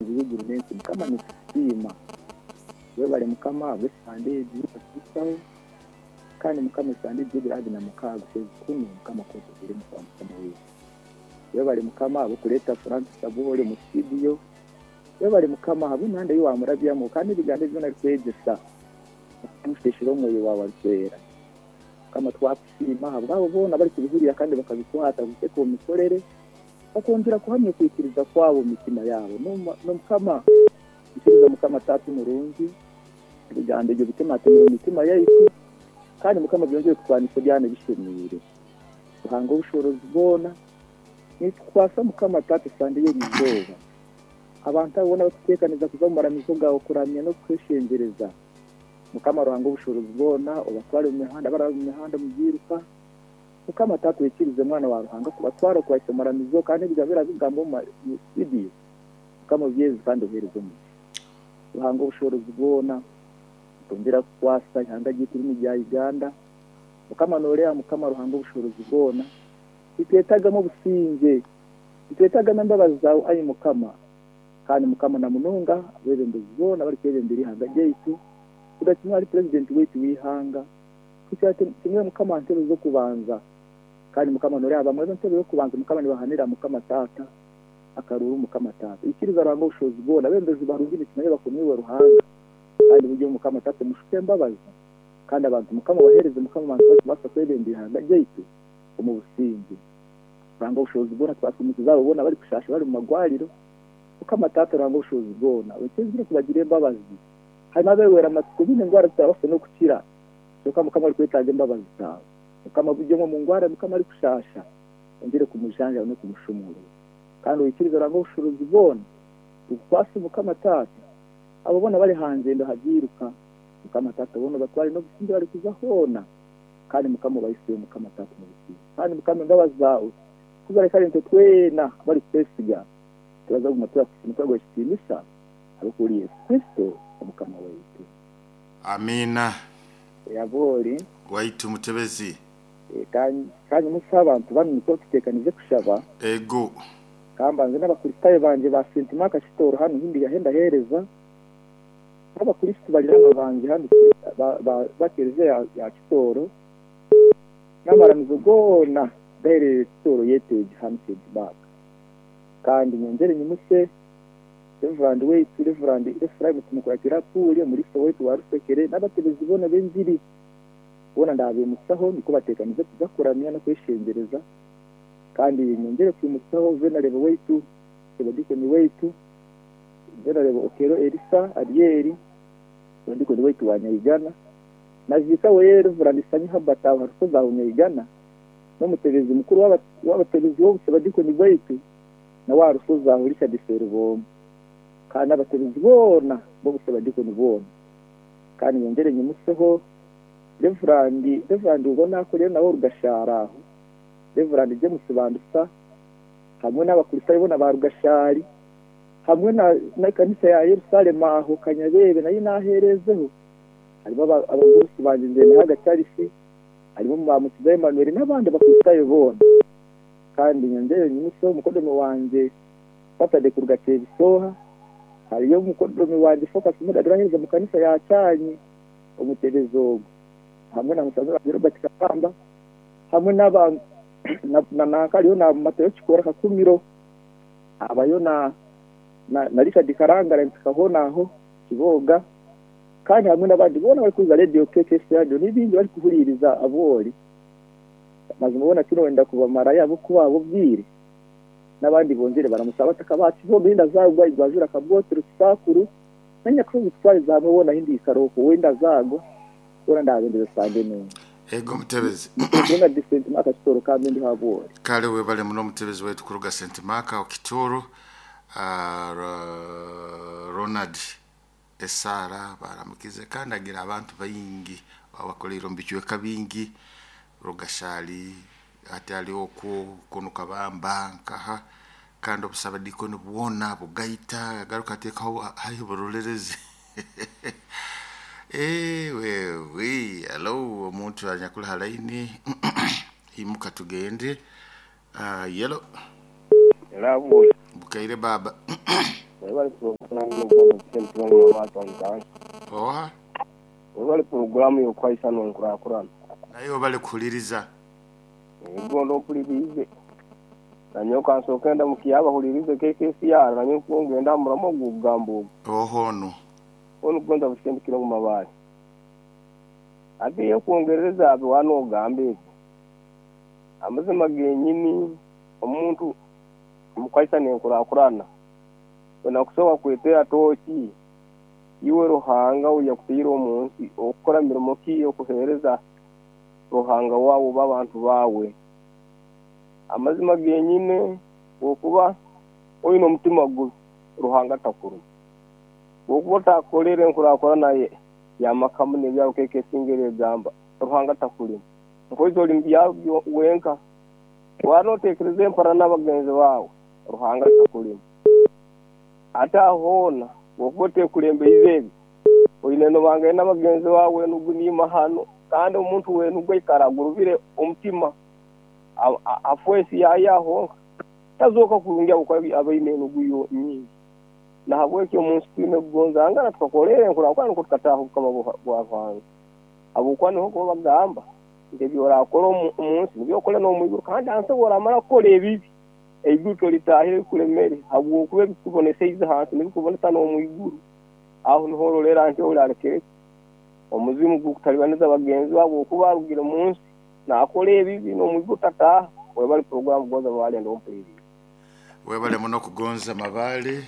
Omuhangi w'eiguru n'ensi, Mukama nitukusiima. Webare Mukama ahabw'esande egi ei watuhitsyaho, kandi Mukama esande egi y'ebiro abiri na mukaaga okwezi kunu Mukama ku otuhaire omukago Mukama waitu. Webare Mukama ahabw'okureeta Francis Abwooli omu studio. Webare Mukama ahabw'emihanda ei wamurabyamu kandi n'ebigambo ebi byona arikwegyesa okamushweshera Omwoyo waawe Arikwera. Mukama twakusiima ahabw'abo boona abarikubihurira kandi bakabikwata kubiteeka omu mikorere. Bakongyera kuhamya okwikiriza kwabo omu mitima yaabo. N'Omukama, ikiriza Mukama Taata omurungi, ebigambo ebyo bitematemere omu mitima yaitu, kandi Mukama byongyere kutwanisa ebyana ebishemeire. Ruhanga ow'obushoboorozi bwona, nitukukwasa Mukama Taata esande y'erizooba, abantu abo boona abarikuteekaniza kuza omu maramizo gaawe kuramya n'okukweshengyereza. Mukama Ruhanga ow'obushoboorozi bwona, obatware omu mihanda, abaraba omu mihanda omu byiruka, Mukama Taata oikirize Mwana wa Ruhanga kubatwara okubahisya omu maramizo kandi ebigambo ebirabigambwa omu studio Mukama obyeze kandi obihereze omugisha. Ruhanga obushoboorozi bwona nitwongyera kukukwasa ihanga ryaitu rinu rya Uganda Mukama noreeba Mukama Ruhanga obushoboorozi bwona nitwetagamu obusingye nitwetagamu embabazi zaawe ai Mukama kandi Mukama namunonga abebembezi boona abarikwebembera ihanga ryaitu kuruga kimwe ahari president waitu weihanga Kuhikira kimwe Mukama aha ntebe z'okubanza. Kandi Mukama noreeba bamwe b'entebe y'okubanza Mukama nibahanira Mukama Taata akaruuru Mukama Taata. Ikiriza Ruhanga obushobozi bwona abebembezi barungi nitumanya bakomiirwe Ruhanga kandi buryo Mukama Taata omushuke embabazi kandi abantu Mukama obahereze Mukama abantu barikubaasa kwebembera ihanga ryaitu omu busingye. Ruhanga obushobozi bwona twasumukiza abo boona abarikushasha bari mumagwariro Mukama Taata Ruhanga obushobozi bwona oikirize kubagira embabazi. Harimu abewera amatsiko baine endwara zitarabaasa n'okukira. Kyonka Mukama arikwetaaga embabazi zaawe. Mukama buri omwe omu ngwara Mukama arikushaasha, ongyere kumujanjaba n'okumushumuurura. Kandi oikirize Ruhanga obushuuruzi bwona bukukwase Mukama Taata. Abo boona abari aha ngyendo aha byiruka, Mukama Taata boona obatware n'obusingye barikuza hoona. Kandi Mukama obahiseyo Mukama Taata omu busingye. Kandi Mukama embabazi zaawe ku zirahika ahari itwe twena abarikukwesiga, turaza kuguma turakusiima turaguha ekitiinisa ahabw'okuba ori Yesu Kristo Omukama waitu. Amiina. Yabori. Waitu mutebezi. Ka nyimutsye abantu banu nikwo tuteekanize kushaba. Ego. Ka mbanze n'Abakristaayo bangye ba Saint Mark Kitooro hanu ahu ndi ahu ndaheereza, n'Abakristo bariranwa bangye hanu ba Kelezia ya Kitooro, n'amaramizo goona gaherereire Kitooro Yeteegi hanu Saint Mark. Kandi nyongyere nyimutse Reverand waitu Reverand Ephraim Tumukuratira Apuuli, omuriisa waitu wa Rusekere n'abatebezi boona b'engiri boona ndaabeimutsaho nikwo bateekanize kuza kuramya n'okweshengyereza. Kandi nyongyere kwimutsaho Venerable waitu Sebadikoni waitu Venerable Okello Erisa Aryeri, Sebadikoni waitu wa Nyaigana na Viika weye Reverand Sanyu Herbert aho ha Rusozi aho Nyaigana n'omutebezi mukuru w'abatebezi w'obusebadikoni bwaitu nawe aha rushozi aho Richard Seruboomu, kandi n'abatebezi boona b'obusebadikoni bwona. Kandi nyongyere nyimuseho Reverand Reverand ogwo naakorera nawe Rugashari aho, Reverand James Bandusa, hamwe n'Abakristaayo boona ba Rugashari, hamwe na n'ekanisa ya Yerusalemu aho Kanyabeebe nayo naaheerezeho. Harimu abagurusi bangye Nzendahaga Charles, harimu Mubamukiza Emmanuel n'abandi Bakristaayo boona. Kandi nyongyere nyimutsye omukodomi wangye Saturday kuruga Kyebisooha. Hariyo omukodomi wangye Focus Mudadu oraheereza omu kanisa ya Kyanyi, omutebezi ogwo hamwe na mutabani wangye Robert Kakamba hamwe n'aba na nanka hariyo na Matayo Kikoora Kakumiro, habayo na na Richard Karangara mpika hoona aho Kiboga kandi hamwe n'abandi boona abarikuhuriiriza Radio KKS Radio n'ebindi barikuhuriiriza abu ori. Mazima boona tinoyenda kubamarayo ahabw'okuba ahabw'obwire n'abandi bongyere baramutsya abataka ba Kiboga enda zaagwa Igwajura Kabwotero Kisaakuru na Nyakushozi kutwariza hamwe boona ahi ndiikara okwo wenda zaagwa boona ndaabendeza Sande nungi. Ego mutebezi. Niturenga di Saint Mark Kitoro kambe ndiho ahabw'ori. Kale webale muno mutebezi waitu kuruga Saint Mark aho Kitoro. Ronald Esaara baaramukize kandi agira abantu baingi abakoreire omu bicweka bingi Rugashari hati ari okwo kunu Kabamba nkaha kandi obusabadiikoni bwona bugaita agaruka ateekaho haihi Burorerezi Eeh halo omuntu anyakuri ha layini imuka tugende. Yelo. Ela bwe. Bukaire baaba. Webale puroguramu y'okuhaisa n'enkurakurana. Oha? Webale puroguramu y'okuhaisa n'enkurakurana. Naye webale kuhuliriza. Ego mpuliriize. Nanyowe kansooke ndamukye abahuliriize KKCR nanyowe nikwo ngenda aha muramwa ogw'okugamba ogu. Oha onu? Onu Kugonza Bushendikire omu Mabaare. Hati eky'okwongerereza aha bi waaba noogamba ebyo, amazima genyini omuntu omu kuhaisa n'enkurakurana, twena kusobola kwetera tooki iwe Ruhanga ou yakutaire omu nsi okukora mirimo ki okuheereza Ruhanga waawe oba abantu baawe. Amazima genyine bw'okuba oine omutima gubi Ruhanga takuruma. Bw'okuba otakorere enkurakurana y'amaka muno ebyaro nk'esinga erigamba Ruhanga takurima. Nkoizi ori mu byaro wenka, waaba noteekereza empara n'abagenzi baawe, Ruhanga takurima. Hati aho hoona bw'okuba otekurembeize ebyo, oine nobangaine n'abagenzi baawe enugu n'imahano, kandi omuntu w'enugu aikara agurubire omutima, afa ensi yaayo ahonka, tazooka kurungi ahabw'okuba aba aine enugu nyingi. Nahabwekyo omu nsi twine kugonzangana tukakorera enkurakurana nukwo tukataaha obukama bwa Ruhanga. Habwokuba niho kuba bagamba nti ebi orakora omu nsi nibyo okore n'omu iguru kandi ahansi obu oramara kukora ebibi, eiguru toritahire bikuremere habwokuba ebikuboneseize ahansi nibikubonesa n'omu iguru. Aho niho ororera nti ori arekere ki omuzimu gukutalibaniza bagenzi be habwokuba arugire omu nsi nakora ebibi n'omu iguru tataaha. Webale puroguramu Gonza Mabale ndi ompuliriize. Webale muno kugonza Mabale.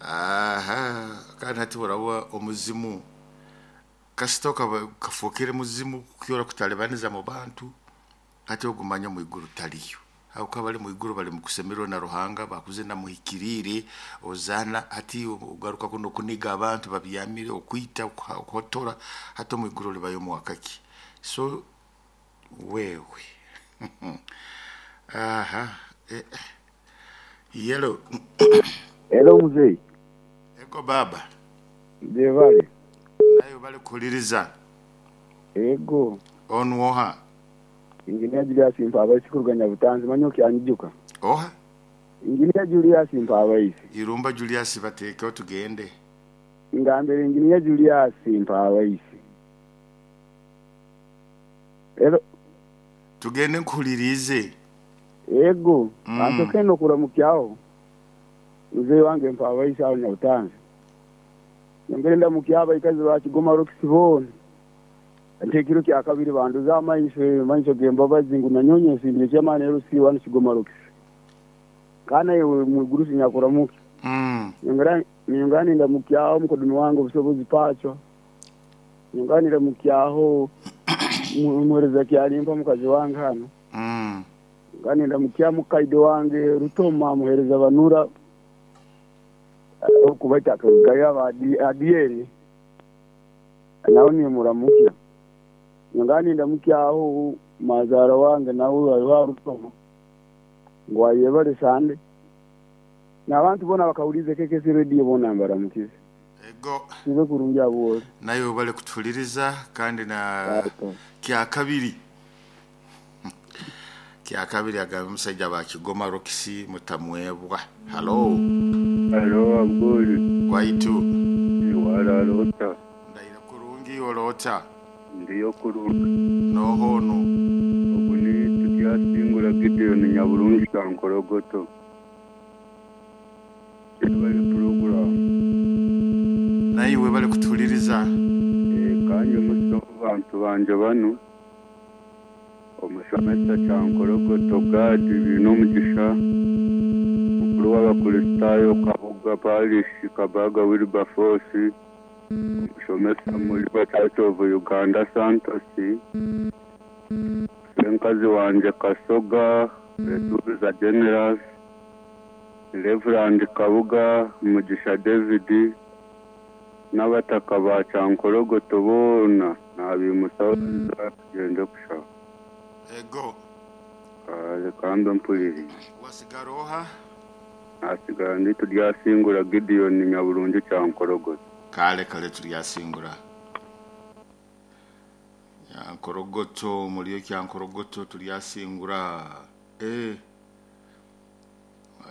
Aha, kandi hati oraba omuzimu kasita okaba kafookere muzimu kukyora kutalibaniza mu bantu hati ogumanya omu iguru taliyo habwokuba abali mu iguru bali mukusemererwa na Ruhanga bakuzina muhikiriire ozaana hati ogaruka kunu okuniga abantu babyamire okwita okuhotora hati omu iguru olibayo omwaka ki so wewe aha eh, yelo. Hello muzei. Ego baba. Gyebale. Naye obale kuhuliriza. Ego. Onu oha? Engineer Julius Mpabaisi kuruga Nyabutanzi manya okyanyijuka. Oha? Engineer Julius Mpabaisi. Irumba Julius bateekeho tugende. Ngambire Engineer Julius Mpabaisi. Hello. Tugende nkuhuliriize. Ego. Kansoke nokuramukyaho muzei wange Mpabaisi aho Nyabutanzi. Nyongere ndamukye abaikazi ba Kigoma Rocks boona. Nti ekiro kya kabiri bandoze amaiso, amaiso g'embabazi ngu nanyowe nyensimbire Chairman LC wanu Kigoma Rocks. Ka naiwe mwigurusi nyakuramukya. Nyongera nyongera nindamukyaho omukodoni wange Obusobozi Pacho. Nyongera nindamukyaho omuhereza Kyalimpa mukazi wange hanu. Nyongera nindamukya mukaide wange Rutoma muhereza Banura okubaita akarugayo aba Adieri nawe nimuramukya. Nyongera nindamukyaho mazaara wange nawe ariho aha Rutoma ngu ayebare Sande. N'abantu boona abakahuriize KKC Radio boona mbaramukize. Ego. Kibe kurungi abu ori. Naye webale kutuhuliriza kandi na kyakabiri kyakabiri agambe omusaija ba Kigoma Rocks mutamwebwa. Halo. Halo Abdul. Waitu. Warara ota? Ndaira kurungi oroota. Ndiyo kurungi. Noho onu? Ogu ni Turyasingura Gideon Nyaburungi Kankorogoto. Yebare puroguramu. Naiwe webale kutuhuliriza. Kanye omusa omu bantu bangye banu, omushomesa Kyankorogoto Gad Bainomugisha, mukuru w'Abakristaayo Kabuga Parish Kabaga Wilberforce, omushomesa Muliba Church of Uganda Santos, Senkazi wangye Kasoga Betubiza Generous, Reverand Kabuga Mugisha David, n'abataka ba Kyankorogoto boona nabimusaho tugyende kushaba. Ego. Kale kambe mpulirize. Wasigara oha? Nasigara ndi Turyasingura Gideon Nyaburungi Kyankorogoto. Kale kale Turyasingura. Kyankorogoto muriyo Kyankorogoto Turyasingura. Eh.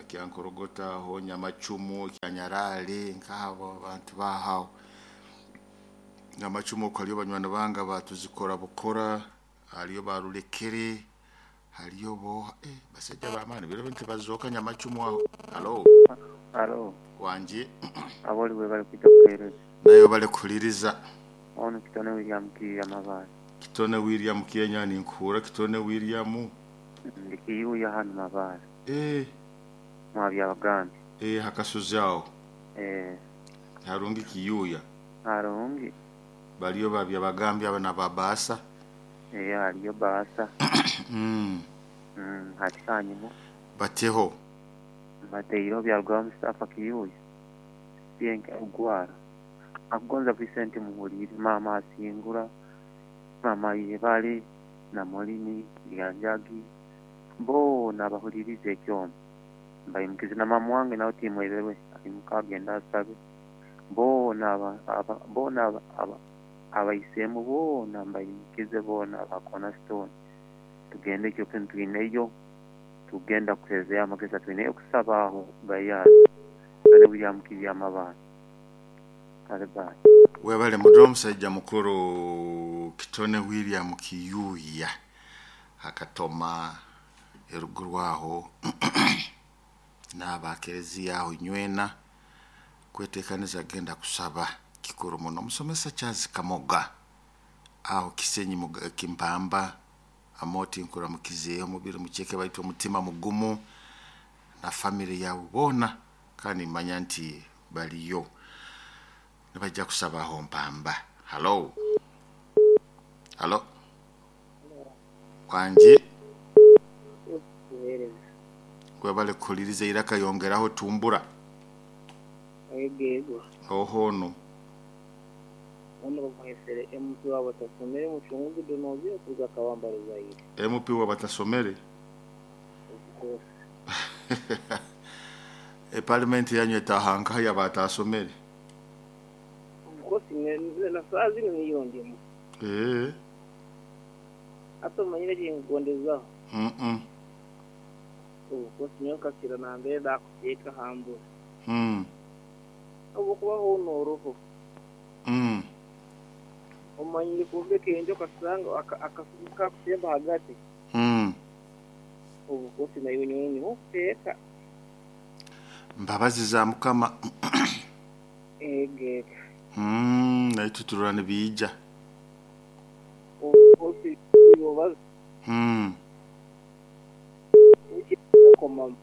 Kyankorogota aho Nyamacumu, Kyanyarale, nk'abo abantu bahaho. Nyamacumu okwo hariyo banywani bange batuzikora bukora, hariyo barulekere, hariyo bo basajja b'amaani biro bintu bazooka Nyamacumu aho. Halo, Alo, wanje aboli bwe bali kwija kuheereza. nayo bali kuhuliriza. Ono Kitone William Kiiya Mabaale. Kitone William Kenya ninkuhura Kitone William. Ndi Kiyuya hanu Mabaale. Mwabyabagambye. Hakasuzi aho. Harungi Kiyuya. Harungi. Baliyo babyabagambye aba na babaasa. Hariyo baasa. Hati hanyuma. Bateho. Bateireho byarugwaho Mustafa Kiyuya. Byenke ogwara. Akugonza Vincent Muhulire, mama asingura, mama Yebale na Molini Lyanjagi boona abahuliriza ekyoma mbayimukize na mama wange nawe timweberwe ayimuka agenda asabe boona boona abaisemu boona mbayimukize boona aba Cornerstone tugende ekyo kintu twineyo tugenda kuhezeyo amagezi twineyo kusaba aho Gayaza ane William Kiiya Mabaale. Kale bye. Webale mudo omusajja mukuru Kitone William Kiyuya akatoma eruguru aho n'abakereziya aho nywena kwetekaniza agenda kusaba kikuru muno. Omusomesa Charles Kamoga aho Kisenyi Kimpamba amoti nkuramukizeeyo omubiri mukyeke baitu omutima mugumu na family yawe boona kandi manya nti baliyo nibajja kusabaho Mpamba. Halo, halo, wanje webale kuhuliriza iraka yongeraho tumbura. Ego. Ohono. Ono bamwesere MP w'abatasomere mucunguzi Donozi okuza Kabamba Ruzaire. MP w'abatasomere? Of course. Parliament yanyu etahanka y'abatasomere? Of course, na saa zino niyo ndimu. Hata manyire kingondezaho. Of course, nyoka kasira na mbere ndakuteeka hambura. Obukubaho n'oruho. Omanyire kumbeka enjoka kasanga akasuka kutemba hagati. Obukosi nayo nyonyi okuteeka. Mbabazi za Mukama. Ege. Naye tuturura nibiija. Obukosi yobaza. Nkomamu.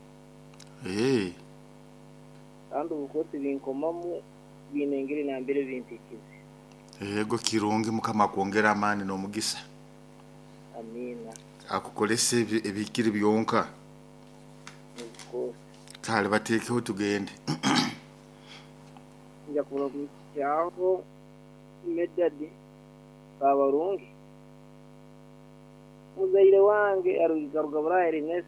Kandi obukosi binkomamu binengere nambere bimpikize. Ego kirungi Mukama akwongera amaani n'omugisa. Amina. Akukolese ebikiri byonka. Kale bateekeho tugende. Nja kuramukyaho Medadi Kabarungi. Muzaire wange arugaruga Burayi Ernest